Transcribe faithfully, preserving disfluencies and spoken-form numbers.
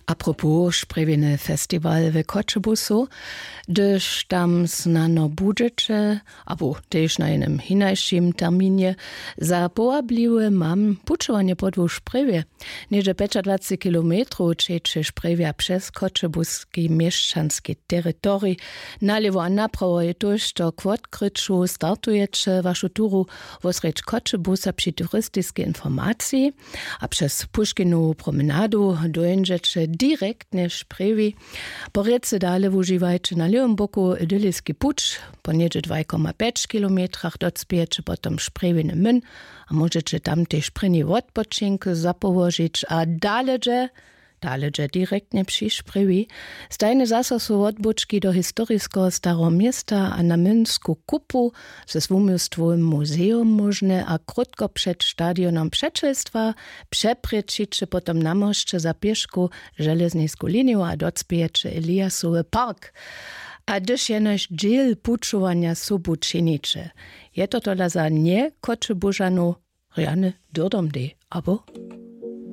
Apropos sprjewjeny festiwal w choćebusu, hdyž tam snano budźeće abo tež na jenym hinašim terminje, za powabliwe mam pućowanje podłu sprjewje. Něhdźe pjećadwaceći kilometrow ćeće sprjewja přez choćebuski měšćanski teritorij. Nalěwo a naprawo je tójšto k wotkryću. Startujeće wašu turu wosrjedź choćebusa při turistiskej informaciji a přez puškinowu promenadu dóńdźeće direktnje sprjewi. Po rěce dale wužiwajće na lěwym boku idyliski puć. Po něhdźe dwaj koma pjeć kilometrach docpějeće potom sprjewiny myn a móžeće tam tež prěni wotpočink zapołožić a dale dźe dale dźe direktnje při sprjewi. Stajne zaso su wotbłóčki do historiskeho stareho města a na mynsku kupu ze swuměłstwowym muzejom móžne a krótko před stadionom přećelstwa přeprěčiće potom na mosće za pěšku železnisku liniju a docpějeće eliasowy park. A hdyž jenož dźěl pućowanja sobu činiće, je to tola za njechoćebužanow rjany dyrdom dej abo